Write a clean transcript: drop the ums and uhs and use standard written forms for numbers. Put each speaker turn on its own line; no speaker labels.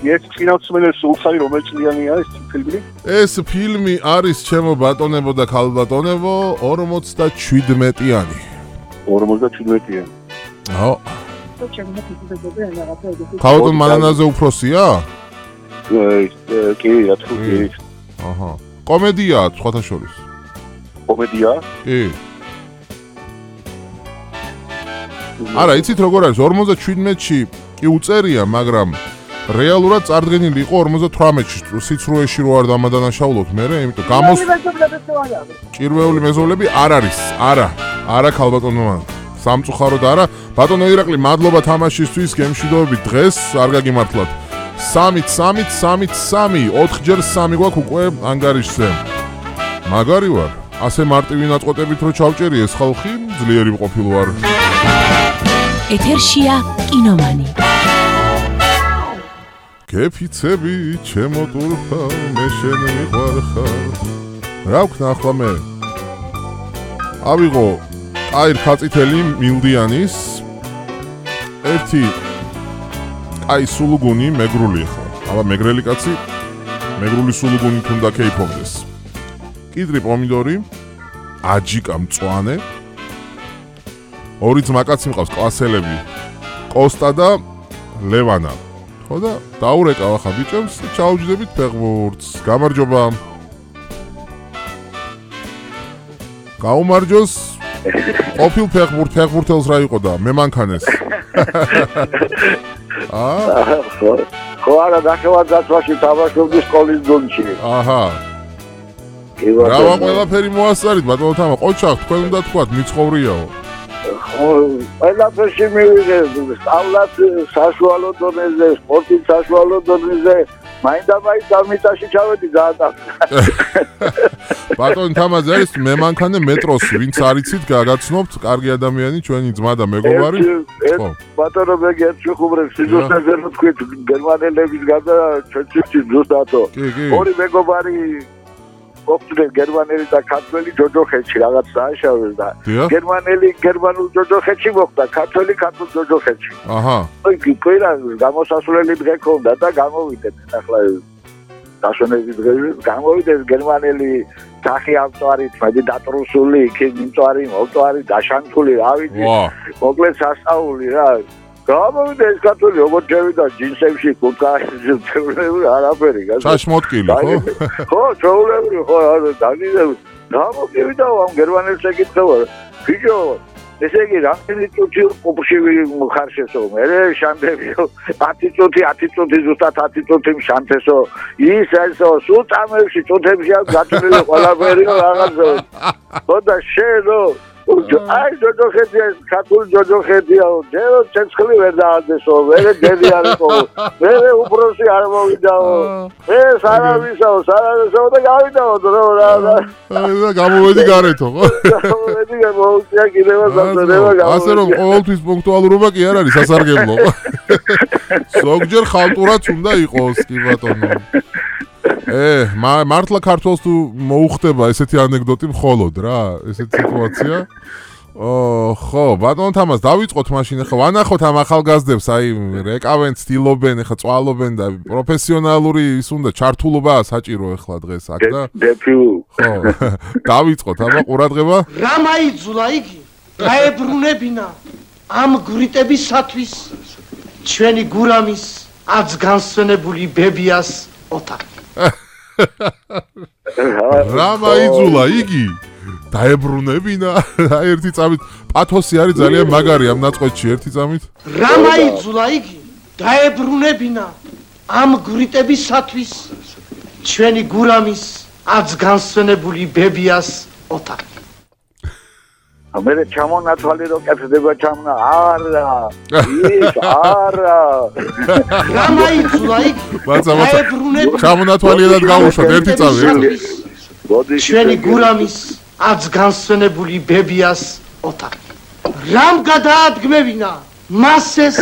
ეს წინასწმენელი სულხარი რომელი წლიანია ეს ფილმი?
ეს ფილმი არის ჩემო ბატონებო და ქალბატონებო 57-იანი.
57-იანი.
აჰა. ქალბატონ მანანაზე უფროსია?
კი, რა თქმა უნდა.
აჰა. კომედიაა სხვათა შორის.
კომედია?
კი. არა, იცით როგორ არის 57-ში კი უწერია, მაგრამ რეალურად წარდგენილი იყო 58-ში, სიცრუეში რო არ დამადანაშაულოთ მე, იმიტომ გამოს ჭირვეული მეზობლები არ არის. არა ქალბატონო. სამწუხაროდ არა. ბატონო ირაკლი, მადლობა თამაშისთვის, გემშვიდობებით დღეს, არ გაგიმართლათ. 3 4ჯერ 3 გვაქვს უკვე ანგარიშზე. მაგარი ვარ. ასე მარტივი ნაწყვეტებით რო ჩავჭერი ეს ხალხი, ძლიერი ყოფილ ვარ.
ეთერშია კინომანი.
გეფიცები ჩემო ტურფა მე შენ მიყვარხარ. რა ვქნა მე? ავიღო აი რქაწითელი მილდიანის ერთი აი სულუგუნი მეგრული ხო. აბა მეგრელი კაცი მეგრული სულუგუნი თუნდა კეიფობდეს. კიდრი პომიდორი, აჯიკა მწვანე. ორი ძმაკაცი მყავს კლასელები. კოსტა და ლევანა. ხო და დაურეკავ ახლა ბიჭებს, ჩაუჯდებით ფეხბურთს. გამარჯობა. გაუმარჯოს. ყოფილ ფეხბურთელს რა იყო და მე მანქანეს.
ხო არა დახევარ დაცვაში თამაშობდი სკოლის დონში.
აჰა. რა ყველაფერი მოასწარით ბატონო თამა, ყოჩახ თქვენ უნდა თქვათ მიცხოვრიაო.
ყველაფერში მივიღე, სწავლაც საშუალო დონეზე, სპორტით საშუალო დონეზე, მაინდა-მაინც დამიტაში ჩავედი დაატახა.
ბატონო თამაზე არის მე მანქანე მეტროსი, ვინც არიცით, გაგაცნობთ, კარგი ადამიანი, ჩვენი ძმა და მეგობარი.
ხო. ბატონო მე გერჩხუბრებს, სიზუსტეზე რო თქვით, გერმანელების გარდა ჩვენთვის ზუსტათო. ორი მეგობარი ოქწრეს გერმანელი და ქართველი ჯოჯოხეთში რაღაც დააშავეს და გერმანელი გერმანულ ჯოჯოხეთში მოხდა, ქართველი ქართულ ჯოჯოხეთში. აჰა. აი კვირა გამოსასვლელი დღე ქონდა და გამოვიდნენ ახლა დაშონების დღე გამოვიდნენ გერმანელი სახი ავტوارით, მედი დატრუსული, იქ მიმწვარი, მოვწვარი, დაშანთული, რა ვიცი. მოკლედ სასწაული რა. გამოვიდა ეს ქართველი როგორ შევიდა ჯინსებში, კურთკაში, ჩეულებრივი არაფერი.
ჩაშმოტკილი, ხო?
ხო, ჩეულებრივი, ხო, დაგიზევ. გამოვიდა ამ გერმანელს ეკითხება. ბიჭო, ესე იგი რამდენი წუთი ყოფში ხარშესო? მე შანდებიო 10 წუთი ზუსტად 10 წუთი შანთესო. ის ესო სულ წამებში წუთებში აქვს გაწოლილი ყველაფერი რაღაცა. ხო და შენო აი ჯოჯოხეთია, ქართული ჯოჯოხეთია, ჯერო ცეცხლი ვერ დააძესო, მე დედი არისო, მე უფროსი არ მოვიდაო, მე სარავისაო და გავიდაო რა.
და გამოვედი გარეთო, ხო?
გამოვედი მოუწია კიდევ საზრდება გამოვედი.
ასე რომ ყოველთვის პუნქტუალურობა კი არ არის სასარგებლო. ზოგჯერ ხალტურაც უნდა იყოს, კი ბატონო. მართლა ქართულს თუ მოუხდება ესეთი ანეკდოტი მხოლოდ რა, ესეთი სიტუაცია. ხო, ბატონო თამას დავიწყოთ მაშინ ახლა ვანახოთ ამ ახალგაზრდებს, აი რეკავენ, ცდილობენ, ახლა წვალობენ და პროფესიონალური ის უნდა ჩართულობა საჭირო ახლა დღეს აქ და ხო, დავიწყოთ აბა ყურადღება.
რა მაიძულა იგი? გაებრუნებინა ამ გვრიტებისათვის ჩვენი გურამის აცგანსვენებული ბებიას ოთახი.
რა მაიძულა იგი? დაებრუნებინა ერთი წამით პათოსი არის ძალიან მაგარი ამ ნაწყვეტში ერთი წამით.
რა მაიძულა იგი? დაებრუნებინა ამ გვრიტებისათვის ჩვენი გურამის აცგანსვენებული ბებიას ოთახი.
მე ჩამონათვალი რო კეთდება ჩამნა არა ის არა
რა მაიძულა იგი?
დაებრუნებინა ჩამონათვალიად გავუშვათ ერთი წამი.
ჩვენი გურამის აცგანსვენებული ბებიას ოთახი. რამ გადაადგმევინა მას ეს